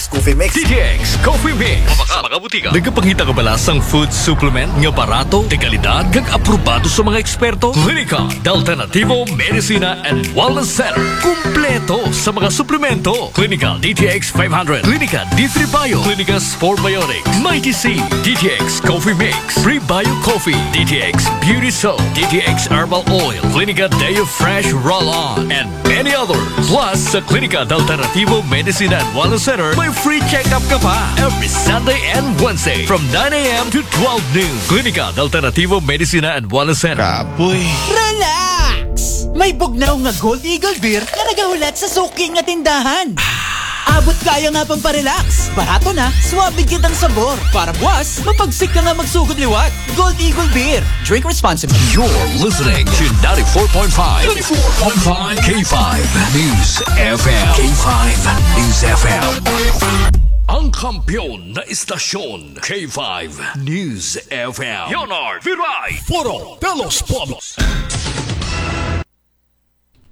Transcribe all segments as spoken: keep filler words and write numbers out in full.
Coffee Mix. D T X Coffee Mix. Sa mga butika. Nagapangita ka ba sa food supplement nga barato, de kalidad, kag aprobado sa mga eksperto? Klinika de Alternativo Medicina and Wellness Center. Kumpleto sa mga suplemento. Klinika D T X five hundred, Klinika D three Bio, Klinika Sport Biotics, Mighty C, D T X Coffee Mix, Prebio Coffee, D T X Beauty Soap, D T X Herbal Oil, Klinika Deo Fresh Roll-On, and many others. Plus, sa Klinika de Alternativo Medicina and Wellness Center, may free check-up ka pa every Sunday and Wednesday from nine a m to twelve noon. Klinika de Alternativo Medicina and Wellness Center. Kapoy. Relax! May bugnaw nga Gold Eagle Beer nga nagahulat sa suki nga tindahan. Abot kaya nga pang parelax. Barato na, swabe kitang sabor. Para buwas, mapagsik ka nga magsugod liwat. Gold Eagle Beer. Drink responsibly. You're listening to ninety-four point five, ninety-four point five K five News F M. K five News F M. Ang kampiyon na istasyon, K five News F M. Leonard Viray. Foro de los Pueblos.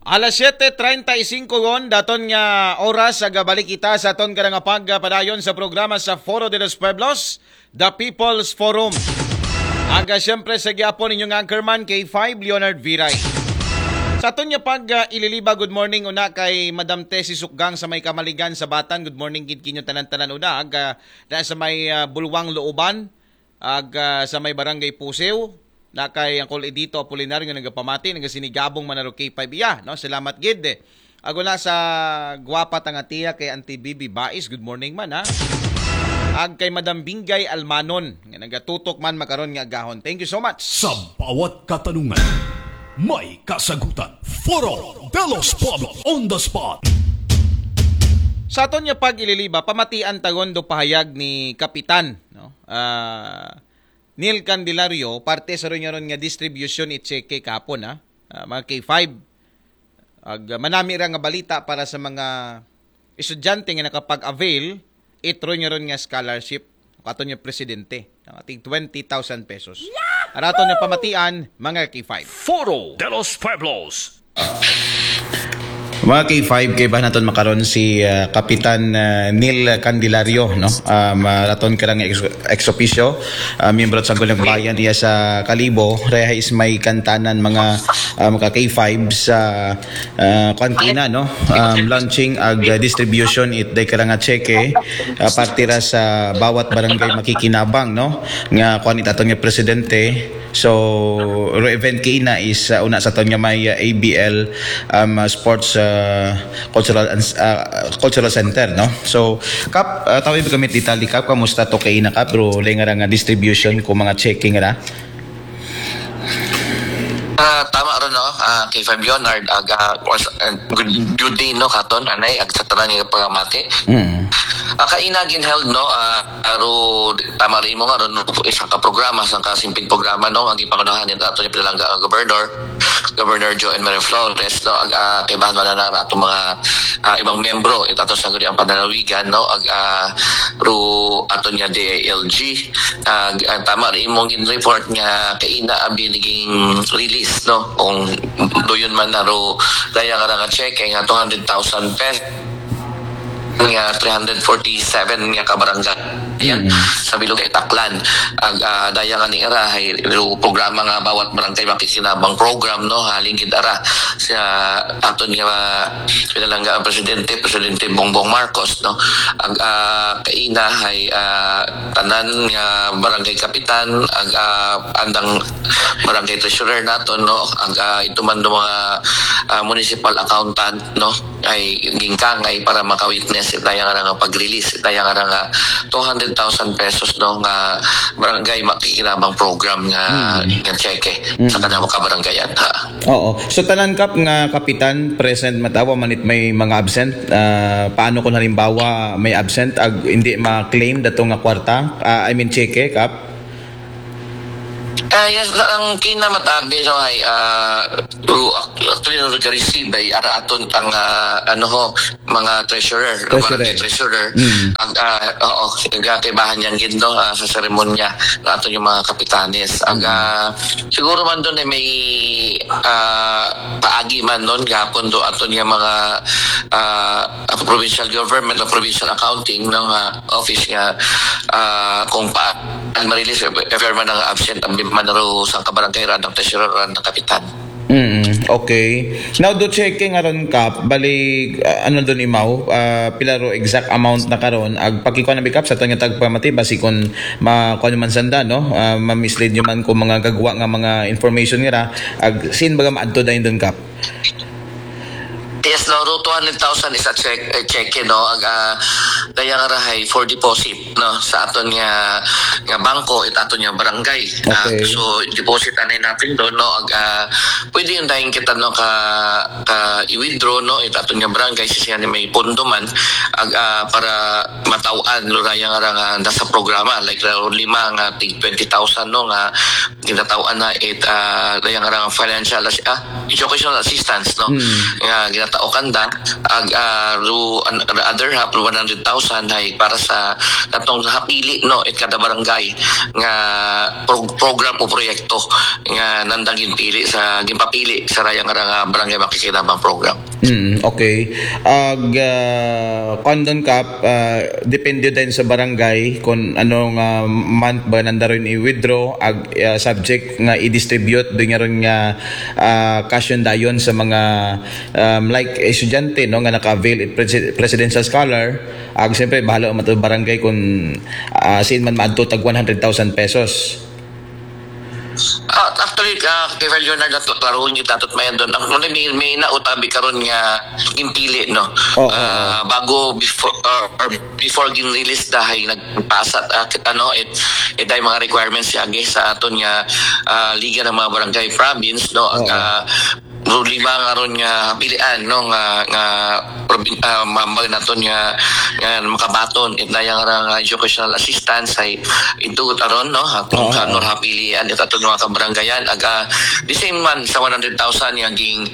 Alas siyete treinta y cinco gon, daton nga oras, agabalik kita sa aton kada nga pagpadayon sa programa sa Foro de los Pueblos, The People's Forum. Aga siyempre sa gyapon inyong anchorman, K five Leonard Viray. Sa aton nga pag uh, ililiba, good morning una kay Madam Tessie Sukgang sa may Kamaligan sa Batan. Good morning gid kinyo tanan-tanan una. Aga na sa may uh, Bulwang Looban. Ag ah, sa may barangay Pusew, na kay Uncle Edito Apolinar nga nagapamati, nagasinigabong manaro K five iya, no? Salamat gid. Ag una sa gwapa tanga tiya kay Auntie Bibi Bais, good morning man ha. Ag kay Madam Bingay Almanon, nga nagatutok man makaron nga agahon. Thank you so much. Sa bawat katanungan, may kasagutan. Foro de los Pueblos on the spot. Sa aton nga pag-ililiba, pamatian tagon do pahayag ni Kapitan, no? Ah, Neil Candelario, parte sa ron nga distribution it cheque kahapon, ha? Ah, mga K five. Ag ah, manami ra nga balita para sa mga estudyante nga nakapag-avail it ron nga scholarship katon nga presidente, ang ating twenty thousand pesos. Araton nga pamatian, mga K five. Foro de los Pueblos. Mga K five, kay ba naton makaron si ah, Kapitan ah, Neil Candelario, no? Um, ah, raton ka lang ex, ex officio, ah, miyembro sa Sangguniang Bayan iya sa Kalibo, reha is may kantanan mga ah, mga K five sa ah, kuan kina, no? Um, launching ag ah, distribution it day ka lang nga cheque ah, parte ra sa bawat barangay makikinabang, no? Nga kuan it aton nga presidente. So, ro event kina is ah, una sa aton nga may ah, A B L um, ah, Sports ah, Cultural and ah, Cultural Center, no? So, Kap, ah, tawi ba kami detalye, Kap, kamusta to kay ina, Kap? Bro, lay nga ra nga distribution ko mga cheque ra. Ah, tama ron, no? Ah, K five Leonard, ag ah, was- ah, good, good day, no, katon anay, ag sa tanan nga pagpamati. Mm. Ah, kaina gin-held, no? Ah, aro, tama rin mo nga ron, no? Isa ka programa, sa kasimping programa, no? Ang ipangunahan nito ato ni pinalangga ang gobernador, Governor Joe and Mary Flores, no? Ag ah, kay bahan man na ato mga ah, ibang membro, ito ato sa guri ang pananawigan, no? Ag ah, ro ato niya D I L G. Ag ah, tama rin mong in report nga kaina abi naging release, no? Kung doon man na ro, daya nga nga check, nga two hundred thousand pesos nga three hundred forty-seven nga kabarangay. Yan, sa bilog kay Taklan. Ag ah, daya nga ni era, hay, ro programa nga bawat barangay makikinabang program, no? Halin gid ara sa aton nga pinalangga ang presidente, Presidente Bongbong Marcos, no? Ag ah, kaina hay ah, tanan nga barangay kapitan, ag ah, andang barangay treasurer naton, no? Ag ah, ito man do mga ah, municipal accountant, no? Ay gingkangay para maka-witness itaya nga nga pag-release itaya nga nga two hundred thousand pesos, no, nga barangay makikinabang program nga nga cheque sa kanang kabarangayan, ha. Oo. So tanan, Kap, nga kapitan present, matawa man it may mga absent. Ah, paano kung halimbawa may absent ag hindi ma-claim dato nga kwarta? Ah, I mean cheque, Kap? Ah, yes, ang kinamatabi no ay ah, through actually no receive ay ara aton ang ah, ano ho, mga treasurer, treasurer. Treasurer. Mm. Ang ah, oo, nagkakaibahan yang gindo ah, sa seremonya ng aton yung mga kapitanes. Ang ah, siguro man doon ay may ah, paagi man noon gapon do aton yung mga ah, provincial government o provincial accounting ng ah, office nga ah, kung pa ang marilis if ever man ang absent ang man ro sa kabarangay ran ng treasurer ran ng kapitan. Mm, okay. Now do checking aron Kap, bali uh, ano doon imaw, uh, pila ro exact amount na karon ag pakikuan na bikap sa aton nga tagpamati basi kun ma kuan man sanda no, uh, ma-mislead nyo man kung mga gagwa nga mga information nga ra, ag sin baga maadto dayon doon Kap. Yes, no, ro two hundred thousand is a check, a check, no, ag uh, dayang rahay for deposit no sa aton nga nga bangko it aton nga barangay. Okay. Uh, so deposit anay natin doon no ag uh, pwede yung dahil kita no ka, ka i-withdraw no it aton nga barangay siya ni may pondo man ag uh, para mataw-an no dayang ra nga nasa programa like lima nga tig twenty thousand no nga ginataw-an na it uh, dayang ra nga financial ah, educational assistance no hmm. Nga ginatao kanda ag uh, ru, an, other half one hundred thousand ay para sa natong hapili no it kada barangay nga pro, program o proyekto nga nandang ginpili sa ginpapili sa rayang ra nga barangay makikinabang program. Mm, okay. Ag uh, kondon Kap, uh, depende din sa barangay kung anong uh, month ba nanda ron i-withdraw ag uh, subject nga i-distribute doon nga ron nga uh, cash dayon sa mga um, like estudyante no nga naka-avail it presidential scholar ag siyempre bahala ang matod barangay kung uh, sin man maadto tag one hundred thousand pesos. Uh, actually, uh, Kevin Leonard, nato klaruhon yung tatot mayan doon. Ang may, may nautabi karon nga impili, no? Oh, uh, bago, before, or, or before gin-release dahay nagpasat uh, ano it iday mga requirements yagi sa aton nga uh, liga ng mga barangay province no ang uh, problema nga ron nga pilian no nga nga uh, mambag naton nga nga makabaton it dayang ra nga educational assistance ay ito aron no kung uh-huh. Kanor hapilian it aton mga kabarangayan aga the same man sa one hundred thousand nga ging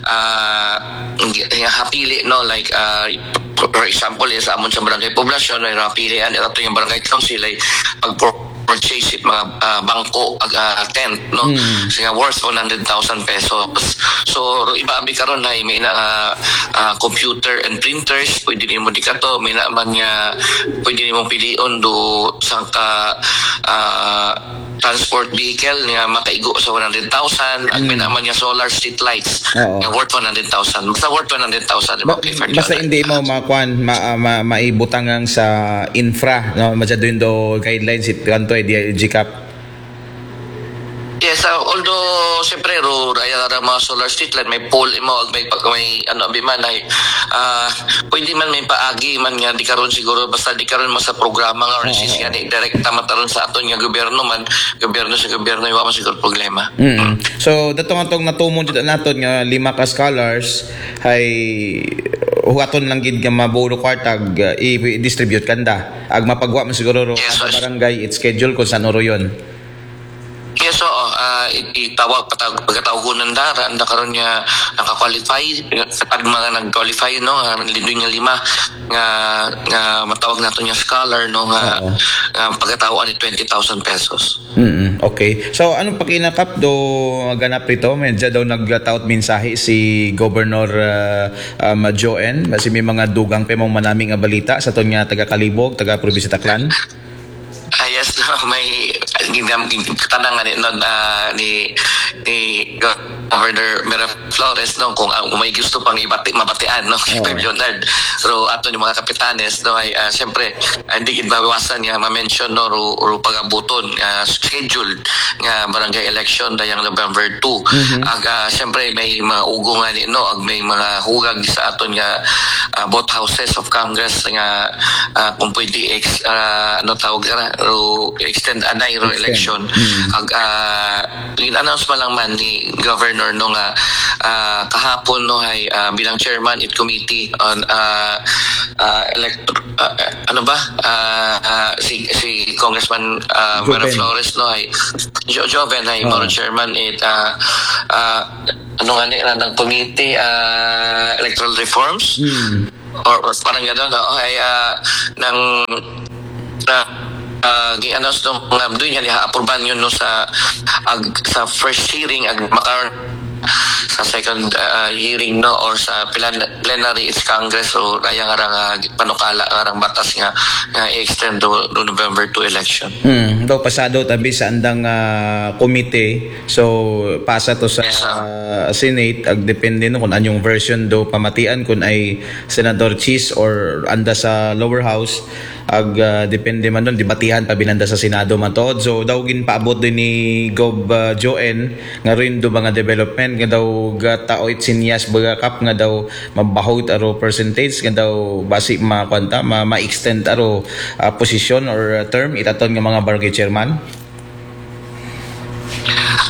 uh, nga hapili no like uh, for example sa amon sa barangay poblasyon ay rapilian ito yung barangay council ay pag purchase it mga uh, bangko ag uh, tent no mm. Siya worth one hundred thousand pesos. So iba abi karon ay may na uh, uh, computer and printers pwede nimo di kato may na man nga pwede nimo pilion do sangka uh, transport vehicle nga makaigo sa one hundred thousand at may naman nga solar street lights nga worth one hundred thousand. Basta worth one hundred thousand. Ba, basta hindi mo makuan ma, ma, maibutangang sa infra no masyado yung do guidelines it kanto ay D I L G cap. Yes, uh, although siyempre ro raya ra mga solar street light may pole imo may may ano abi man ay uh, pwede man may paagi man nga di karon siguro basta di karon mo sa programa nga or sis nga ni direkta mataron sa aton nga gobyerno man gobyerno sa gobyerno wa man siguro problema. Mm. So datong atong natumon jud naton nga lima ka scholars hay hugaton lang gid nga mabulo kwartag uh, i-distribute kanda ag mapagwa man siguro ro yes, barangay it schedule kung saan ro yun. Yes, oo. Uh, itawag patag pagkatawgon ng dara ang karon niya nakakwalify sa pag mga nag-qualify no uh, lindo niya lima nga nga matawag nato niya scholar no nga, nga pagkatawaan ni twenty thousand pesos. Mm, okay. So anong pakinakap do ganap rito? Medya daw nagtaot mensahe si Governor uh, um, Joen. Kasi may mga dugang pa mong manaming nga balita sa ton nga taga Kalibog, taga probinsya Taclan. Ah, yes, no, may ginam tanang ani no uh, ni ni Governor Mira Flores no kung uh, may gusto pang ibati mabatian no kay oh. Leonard. Pero ato ni mga kapitanes no ay uh, siyempre hindi gid mawasan nga ma-mention no ro, ro pagabuton uh, schedule nga barangay election dayang November two. Mm-hmm. Ag uh, siyempre may mga ugo nga ni no ag may mga hugag sa aton nga uh, both houses of Congress nga uh, kung pwede ex, uh, ano tawag na ro extend anay ro election. Mm-hmm. Ag uh, in-announce pa lang man ni Governor no nga ah, kahapon, no, ay, ah, bilang chairman it committee on, ah, ah, elect-, ah, ano ba? Ah, ah, si, si Congressman, ah, Mara Joven. Flores, no, ay Jo-, Joven ay Oo. maro chairman it, ah, ah, ano nga ni, ng committee, ah, electoral reforms? Hmm. Or, or parang gano'n, no? Ay, ah, ng, ah, ah, gi-announce, no, nga doon yan, ha-approvean yun, no, sa, ag, sa first hearing, ag makaron sa second, ah, hearing, no, or sa plan-, plenary, it's Congress, so kaya nga rang, ah, panukala nga rang batas nga, nga i-extend to, to November two election. Hmm, daw pasado tabi sa andang, ah, komite. So, pasa to sa, Yes, sir. ah, Senate, ag depende, no, kung anyong version do pamatian, kung ay Senador Cheese or anda sa lower house, ag, ah, depende man doon, debatihan pa binanda sa Senado man to. So, daw ginpaabot din ni Gov, ah, Joen, nga rin do mga development, nga daw gataoy sinyas baga Kap, nga daw mabahot aro percentage, nga daw basi ma-, kwanta, ma-, ma-extend aro, ah, position or, ah, term, itaton nga mga barangay chairman.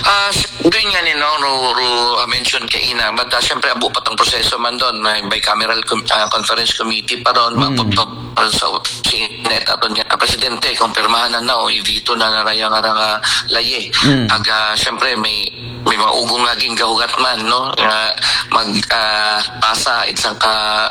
Ah, s-, doon nga ni, no, ro, ro, ah, mention kaina, but, ah, siyempre, abo pa tong proseso man doon, may bicameral com-, ah, conference committee pa ron, Mm. maputok sa Senate, ato niya, ah, presidente, kung pirmahan na, no, i-veto na na raya nga rang, ah, laye. Mm. Ag, ah, siyempre, may, may mga ugong laging gahugat man, no, nga mag, ah, pasa, isang ka,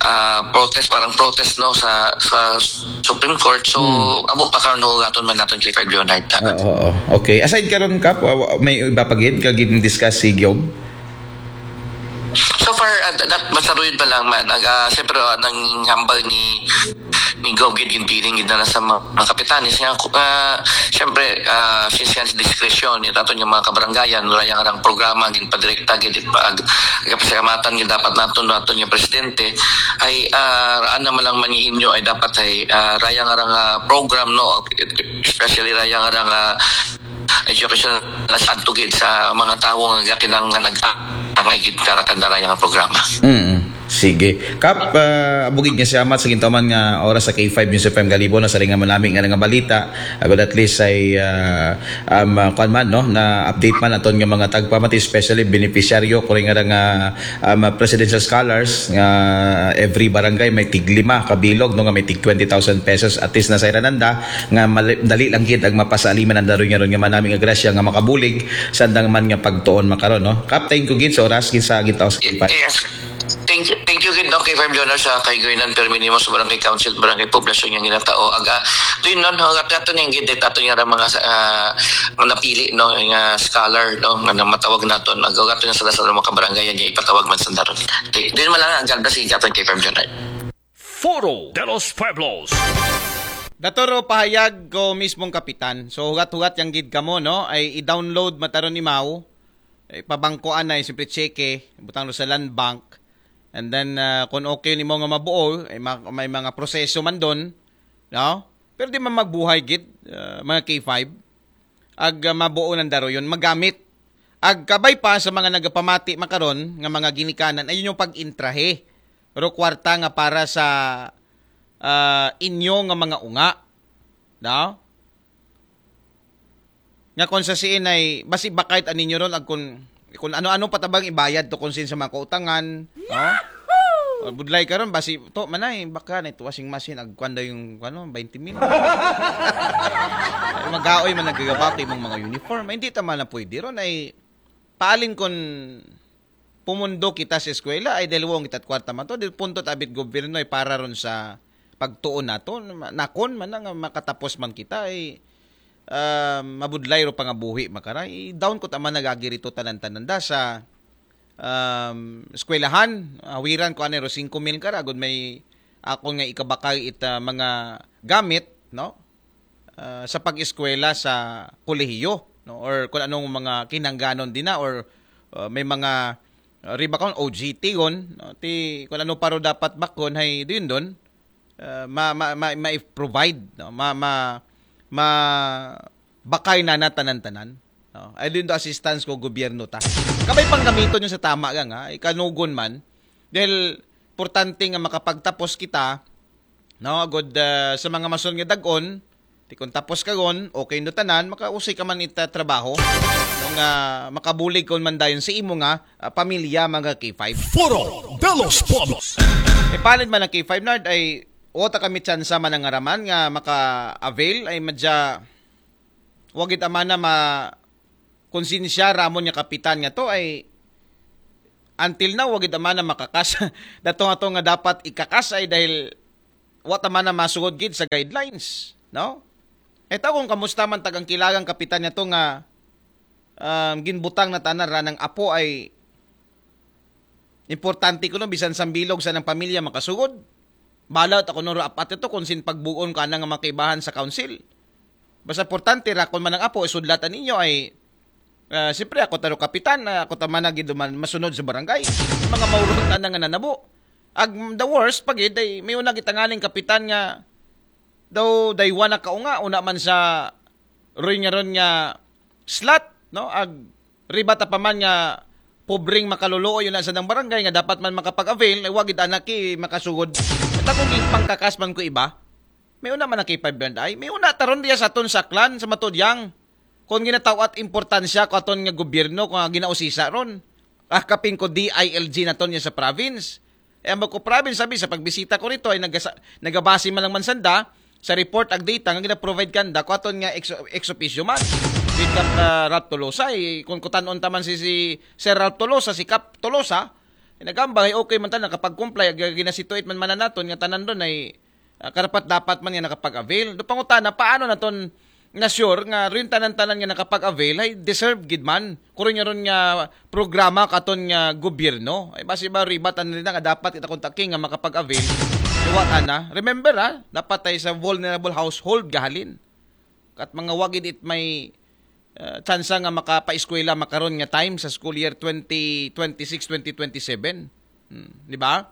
ah, protest, parang protest, no, sa, sa Supreme Court. So, Mm. abo pa karon hugaton man naton kay Fred Leonard. Oo, oo. Okay. Aside karon, Kap, wa-, wa-, may iba pa gid ka gid discuss si Gov? So far, uh, that, masaruyod pa lang man. Ag, ah, siyempre, ah, nang hambal ni, ni Gov gid, ginpiling gid na lang sa mga, mga kapitanes nga, ah, siyempre, ah, since yan sa diskresyon, itaton yung mga kabarangayan, wala yung arang programa, ginpadirekta gid, pag, kapasalamatan gid dapat naton, naton yung presidente, ay, ah, raan naman lang manihinyo ay dapat ay, ah, rayang arang, ah, program, no, especially rayang arang, ah, education na sa adto gid sa mga tawo nga kinahanglan nag-, ang gid karakanda rayang programa. Mm. Sige. Kap, ah, abugid nga siya, Amat, sa gintuman nga oras sa K five News F M Galibo, na sa ringa manami nga nga balita. Agud at least ay, ah, um, ah, kuwan man, no, na update man aton nga mga tagpamati, especially beneficiaryo, kuri nga nga, um, presidential scholars, nga every barangay may tig lima kabilog, no, nga may tig twenty thousand pesos, at least na sa irananda, nga mali-, dali lang gid ang mapasaliman ang daron nga ron nga manami nga grasya nga makabulig sa andang man nga pagtuon makaron, no. Kap, thank you gid sa oras gid sa gitaw sa K five. Yes. Thank you, thank you gid, no, K five Leonard, sa kaigoynan permi nimo sa barangay council, barangay poblasyon nga ginatao. Aga, doon, no, no, at ato niyang gid, ato niya mga, ah, mga napili, no, nga scholar, no, nga na matawag naton. Aga, ato niya sa sa mga kabarangay niya ipatawag man sa daron. Di, doon man lang ang ganda si aton K five Leonard. Foro de los Pueblos. Datoro pahayag ko mismong kapitan. So, hugat-hugat yang gid kamo, no? Ay i-download mataron ni Mau. Ay pabangkuan na, siyempre, cheque, butang ro sa Land Bank. And then, ah, kung okay nimo nga mabuo, ay ma-, may mga proseso man doon, no? Pero di man magbuhay gid, ah, mga K five. Ag, ah, mabuo ng daroyon, magamit. Ag kabay pa sa mga nagapamati makaron nga mga ginikanan, ayun yung pag-intrahe. Pero kwarta nga para sa, ah, inyo nga mga unga. No? Nga kung sa siin ay, basi bakay ta ninyo ron, ag kun, kun ano-ano pa ta bang ibayad to kung sin sa mga kautangan, no? O, budlay karon, basi to, manay, baka na ito washing machine, agkuan daw yung, ano, twenty mil. Magaoy man nagagabati mong mga uniform. Ay, hindi ta man na pwede ron, ay paalin kun pumundo kita sa eskwela, ay dahil wong kita kwarta man to, dahil punto tabit gobyerno ay para ron sa pagtuon nato, ma-, nakon man na nga makatapos man kita, ay, ah, mabudlay ro pangabuhi makara, i-down ko ta man nagagirito tanan-tanan da sa, um, eskwelahan, awiran ko anay ro singko mil kara, agud may akon nga ikabakay it, ah, mga gamit, no? Ah, sa pag-eskwela sa kolehiyo, no? Or kung anong mga kinangganon din na, or, ah, may mga, ah, riba kon O G T yon, no? Ti, kung ano paro dapat bakon, hay, din doon, ah, ma, ma, ma, ma-provide, no? Ma, ma, ma, bakay na na tanan-tanan, no? Ay, din do assistance ko gobyerno ta. Kabay pang gamiton yung sa tama nga, nga, ikanugon man, dahil importante nga makapagtapos kita, no, agud, ah, sa mga mason nga dagon, ti kung tapos ka gon, okay no tanan, makausay ka man ita trabaho. Nung nga makabulig kon man dayon sa imo nga ah, pamilya, mga K five. Foro de los Pueblos. Ipalit man ang K five, Nard, ay wata kami tsansa man ang araman nga maka-avail ay madya wagid amana ma konsensya ramon nga kapitan nga to ay until now wagid amana makakas dato nga to nga dapat ikakas ay dahil wata man na masugod gid sa guidelines, no? Ito kung kamusta man tagang kilagang kapitan nga to nga um, ginbutang na tanan ranang apo ay importante kuno bisan sambilog sa nang pamilya makasugod. Balaw ta kuno apat ito kung sin pagbuon ka na nga makaibahan sa council. Basta importante ra kung manang apo isudlatan ninyo ay ah, siyempre ako taro kapitan, ah, ako ta man na gid man masunod sa barangay. Mga maurot na nga nanabo. Ag the worst pagid ay may una gitanganing kapitan nga daw daywa na kaunga una man sa ron nga ron nga slot, no? Ag riba ta pa man nga pobreng makaluluoy yun sa dang barangay nga dapat man makapag-avail ay wagid anak ki makasugod. At akong ipangkakas man ko iba. May una man ang K five brand ay. May una taron diya sa aton saklan sa matudyang. Kung ginatawat importansya ko aton nga gobyerno kung nga ginausisa ron. Ah, kapin ko D I L G naton niya sa province. Eh, ang ko province sabi sa pagbisita ko rito ay nagasa, nagabase man lang man sanda sa report ag data nga gina-provide kanda ko aton nga ex, ex officio man. With Kap uh, Ralph Tolosa, eh, kung kutanon taman si, si Sir Ralph Tolosa, si Kap Tolosa, eh, nagambag ay okay man tanan nakapag-comply ag ginasituate man man naton nga tanan ron ay ah, karapat dapat man nga nakapag-avail. Do pangutana paano naton na sure nga rin tanan-tanan nga nakapag-avail ay deserve gid man. Kuro niya ron nga programa katon nga gobyerno. Ay basi ba ribat ang rin nga dapat kita kung taking nga makapag-avail. Liwat ana. Remember ha, dapat tayo sa vulnerable household gahalin. Kat mga wagid it may uh, tsansa nga makapaeskwela makaron nga time sa school year twenty twenty-six twenty twenty-seven. Hmm, di ba?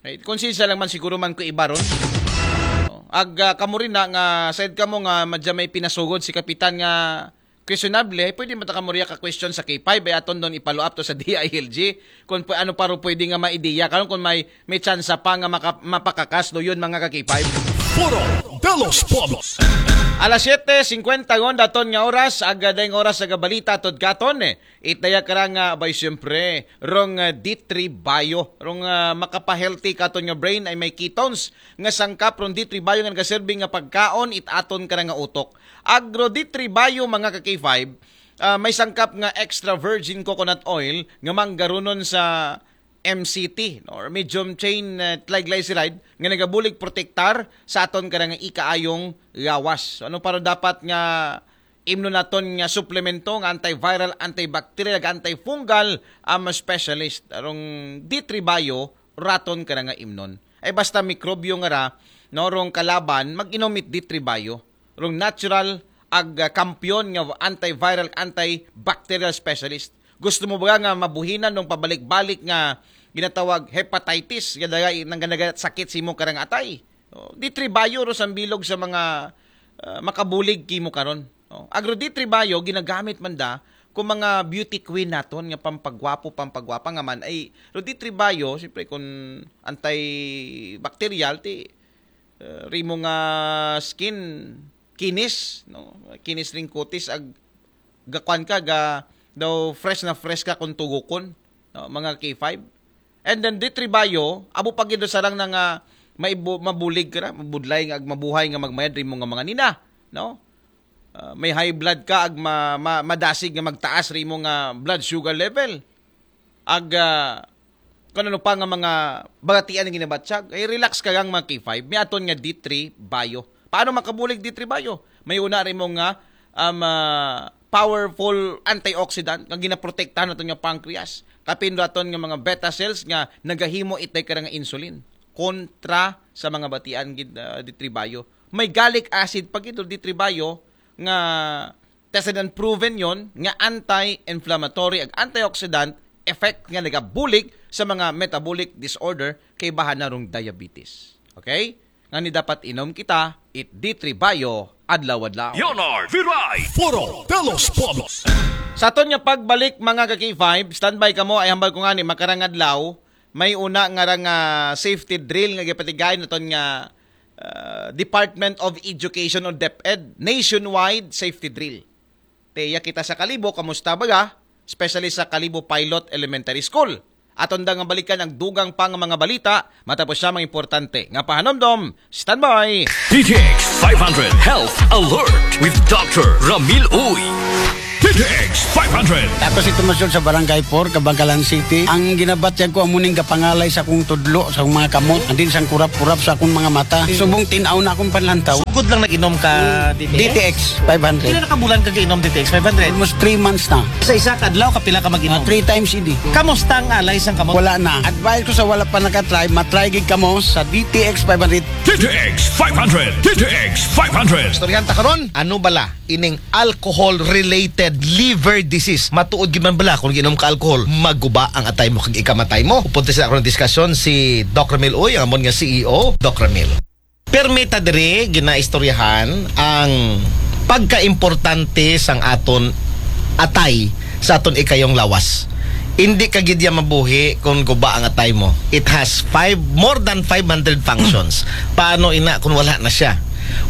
Right? Konsensya lang man siguro man ko iba ron. Oh, ag uh, kamo rin na nga said kamo nga madya may pinasugod si kapitan nga questionable, eh, pwede mo ta kamo riya ka question sa K five ay aton doon ipalo up to sa D I L G kung ano paro pwede nga maideya karon kung may may tsansa pa nga maka, mapakakas do yun mga ka K five. Foro de los Pueblos. Alas siyete singkwenta gon daton nga oras, aga dayng oras sa gabalita tod katon eh. Itaya ka nga bay siyempre rong uh, D three Bio, rong uh, makapahealthy katon nga brain ay may ketones nga sangkap rong D three Bio nga nagaserbi nga pagkaon it aton ka nga utok. Agro D three Bio mga ka K five, uh, may sangkap nga extra virgin coconut oil nga manggarunon sa M C T no? Or medium chain uh, triglyceride nga nagabulig protektar sa aton ka nga ikaayong gawas. So, ano para dapat nga imno naton nga suplemento nga antiviral, antibacterial, ag antifungal ang specialist. Arong D three Bio raton ka nga imnon. Ay basta mikrobyo nga ra, no, rong kalaban, mag-inom it D three Bio. Rong natural ag uh, kampiyon nga antiviral, antibacterial specialist. Gusto mo ba nga mabuhinan ng pabalik-balik nga ginatawag hepatitis, gadaga nang ganaga sakit sa imong karang atay? Oh, D three Bio ro sa bilog sa mga uh, makabulig kimo karon. Oh, Agro D three Bio ginagamit man da kung mga beauty queen naton nga pampagwapo, pampagwapa nga man ay ro D three Bio, siyempre kung antibacterial ti uh, rimo nga skin kinis, no? Kinis ring kutis ag gakuan ka ga daw fresh na fresh ka kung tugukon, no? Mga K five. And then D three Bio, abo pa gid sa lang na nga maibu, mabulig ka na, mabudlay nga ag mabuhay nga magmayad rimo nga mga nina, no? Uh, may high blood ka ag ma, ma, madasig nga magtaas rimo nga blood sugar level. Ag uh, kung ano pa nga mga bagatian nga ginabatyag, ay relax ka gang mga K five. May aton nga D three Bio. Paano makabulig D three Bio? May una rin mo nga um, uh, powerful antioxidant nga ginaprotektahan naton nga pancreas. Kapin aton nga mga beta cells nga nagahimo itay ka nga insulin kontra sa mga batian gid uh, D three Bio. May gallic acid pa gid D three Bio nga tested and proven yon nga anti-inflammatory ag antioxidant effect nga nagabulig sa mga metabolic disorder kay bahan na rong diabetes. Okay? Nga ni dapat inom kita, it D three Bio adlaw-adlaw. Leonard Viray, Foro de los Pueblos. Sa aton nga pagbalik mga ka K five, standby kamo ay hambal ko nga ni makarang adlaw, may una nga ra nga safety drill nga gipatigayon naton nga uh, Department of Education o DepEd nationwide safety drill. Teya kita sa Kalibo, kamusta baga? Especially sa Kalibo Pilot Elementary School. Aton da nga balikan ang dugang pa nga mga balita, matapos siya mga importante nga pahanumdom. Standby! D T X five hundred Health Alert with Doctor Ramil Uy. D T X five hundred. Ako si Tomas Yun sa Barangay four, Kabangkalan City. Ang ginabatyag ko, amuning gapangalay sa akong tudlo, sa akong mga kamot, andin sang kurap-kurap sa akong mga mata. Subong tinaw na akong panlantaw. Good lang nag-inom ka D T X? D T X five hundred. Pila na ka bulan ka inom D T X five hundred? Almost three months na. Sa isa ka adlaw, kapila ka mag-inom? Three times a day. Kamusta ang alay sang kamot? Wala na. Advice ko sa wala pa nakatry, matry gid kamo sa D T X five hundred. D T X five hundred. D T X five hundred. Istoryahan ta karon, ano bala ining alcohol-related liver disease? Matuod gyud man bala kung ginom ka alcohol, maguba ang atay mo kag ikamatay mo? Upunta sa akong diskusyon si Doc Ramil Uy, ang amon nga C E O, Doc Ramil. Permita diri ginaistoryahan ang pagkaimportante sang aton atay sa aton ikayong lawas. Hindi ka gid ya mabuhi kung guba ang atay mo. It has five, more than five hundred functions. Paano ina kung wala na siya?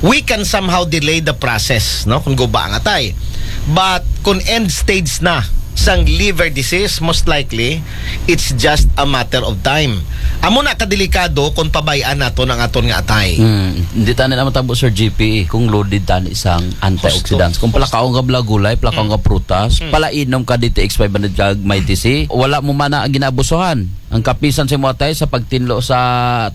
We can somehow delay the process, no, kung guba ang atay. But kung end stage na sang liver disease, most likely, it's just a matter of time. Amo na kadelikado kung pabayaan naton ang aton nga atay. Hmm, hindi tani na matabo, Sir G P, kung loaded tani sang antioxidants. Kung palakaon ka bala gulay, palakaon ka prutas, palainom ka D T X five hundred kag Mighty C, wala mo man na ginabusuhan. Ang kapisan sa imo atay sa pagtinlo sa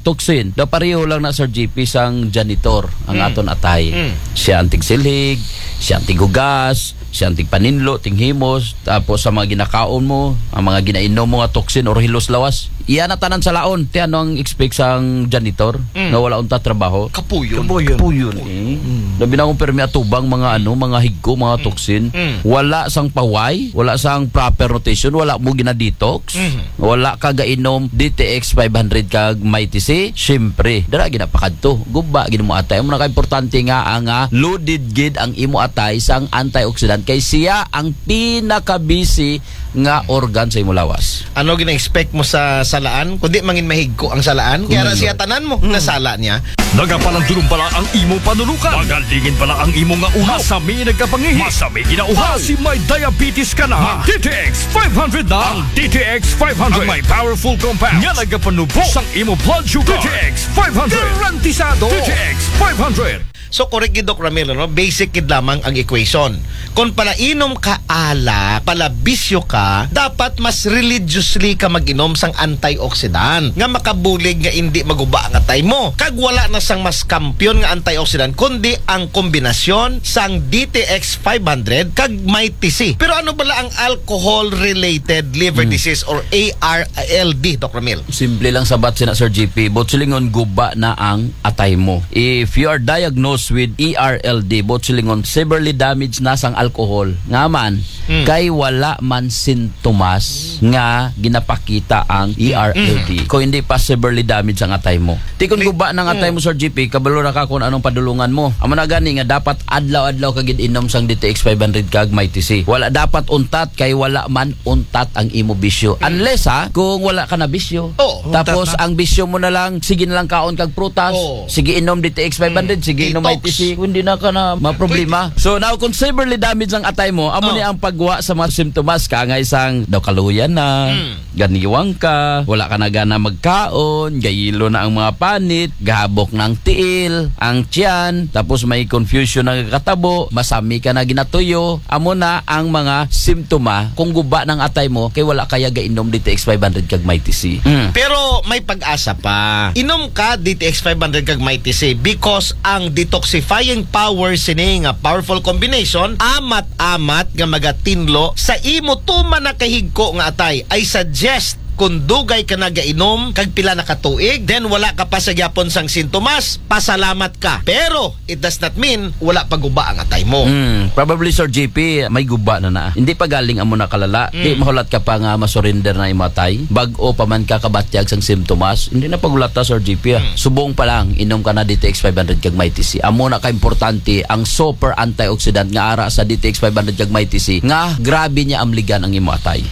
toxin. Daw pareho lang na, Sir G P, sang janitor ang aton atay. Siya ang tigsilhig, siya ang tigugas, siya ang tigpaninlo, tinghimos, tapos sa mga ginakaon mo, ang mga ginainom mo nga toxin or hilos lawas, iya na tanan sa laon. Ti ano ang expect sang janitor nga wala unta trabaho? Kapuyon. Puyon. Eh. Labi na kung permi atubang mga ano, mga higko, mga toxin. Wala sang paway, wala sang proper nutrition, wala mo gina-detox, wala ka gainom D T X five hundred kag Mighty C, syempre, dara ginapakadto. Guba gid mo atay. Amo na ka importante nga ang ah, loaded gid ang imo atay sang antioxidant kay siya ang pinakabisi nga organ sa imo lawas. Ano gina-expect mo sa salaan? Kundi mangin mahigko ang salaan. Kaya ra siya tanan mo, nasala niya. Nagapalandulong pala ang imo panulukan. Magalingin pala ang imo nga ulo. Masami nagkapangihi. Masami ginauhaw. Basi may diabetes ka na. Mag D T X five hundred na. Ang D T X five hundred. Ang may powerful compound. Nga nagapanubo sang imo blood sugar. D T X five hundred. Garantisado. D T X five hundred. So, correct gid, Doc Ramil, no? Basic gid lamang ang equation. Kung palainom ka alak, palabisyo ka, dapat mas religiously ka mag-inom sang antioxidant nga makabulig nga indi maguba ang atay mo. Kag wala na sang mas kampiyon nga antioxidant kundi ang kombinasyon sang D T X five hundred kag Mighty C. Pero ano bala ang alcohol-related liver disease or A R L D, Doc Ramil? Simple lang sabat sina, Sir G P. Buot silingon, guba na ang atay mo. If you are diagnosed with E R L D, buot silingon, severely damaged na sang alcohol. Nga man, kay wala man sintomas nga ginapakita ang E R L D. Kung hindi pa severely damaged ang atay mo. Ti kung guba na ang atay mo, Sir G P, kabalo na ka kung anong padulungan mo. Amo na gani nga dapat adlaw-adlaw ka gid inom sang D T X five hundred kag Mighty C. Wala dapat untat kay wala man untat ang imo bisyo. Unless ha, kung wala ka na bisyo. Oo, Tapos untat na. Ang bisyo mo na lang, sige na lang kaon kag prutas, Oo. sige inom D T X five hundred, sige inom Detox. Mighty C, hindi na ka na maproblema. So now, kung severely damaged ang atay mo, amo Oo. ni ang pagwa sa mga simptomas, kaangay sang daw kaluyan na, ganiwang ka, wala ka na gana magkaon, gayilo na ang mga panit, gahabok na ang tiil, ang tiyan, tapos may confusion na katabo, masami ka na ginatuyo, amo na ang mga simptoma kung guba ng atay mo kay wala kaya gainom D T X five hundred kag Mighty C. Pero may pag-asa pa. Inom ka D T X five hundred kag Mighty C because ang detoxifying power sini nga powerful combination amat-amat nga magatinlo sa imo tuman na kahigko nga atay. I suggest kung dugay ka nagainom kag pila na ka tuig, then wala ka pa sa gyapon sang sintomas, pasalamat ka. Pero it does not mean wala pa guba ang atay mo. Mm, probably, Sir G P, may guba na na. Hindi pa galing amo na kalala. Di mahulat ka pa nga masurrender na imo atay. Bag-o pa man ka kabatyag sang simptomas. Hindi na pagulata, Sir G P, ah. Subong pa lang, inom ka na D T X five hundred kag Mighty C. Amo na ka importante ang super antioxidant nga ara sa D T X five hundred kag Mighty C nga grabe niya amligan ang imo atay.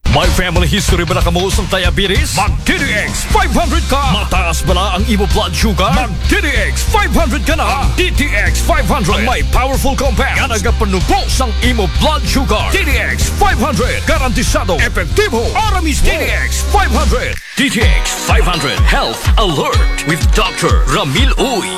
May family history bala kamo sang diabetes? Mag D T X five hundred ka. Mataas bala ang imo blood sugar? Mag D T X five hundred ka na. Ang D T X five hundred may powerful compound nga nagapanubo sang imo blood sugar. D T X five hundred, garantisado, epektibo, aramista. D T X five hundred. D T X five hundred Health Alert with Doctor Ramil Uy.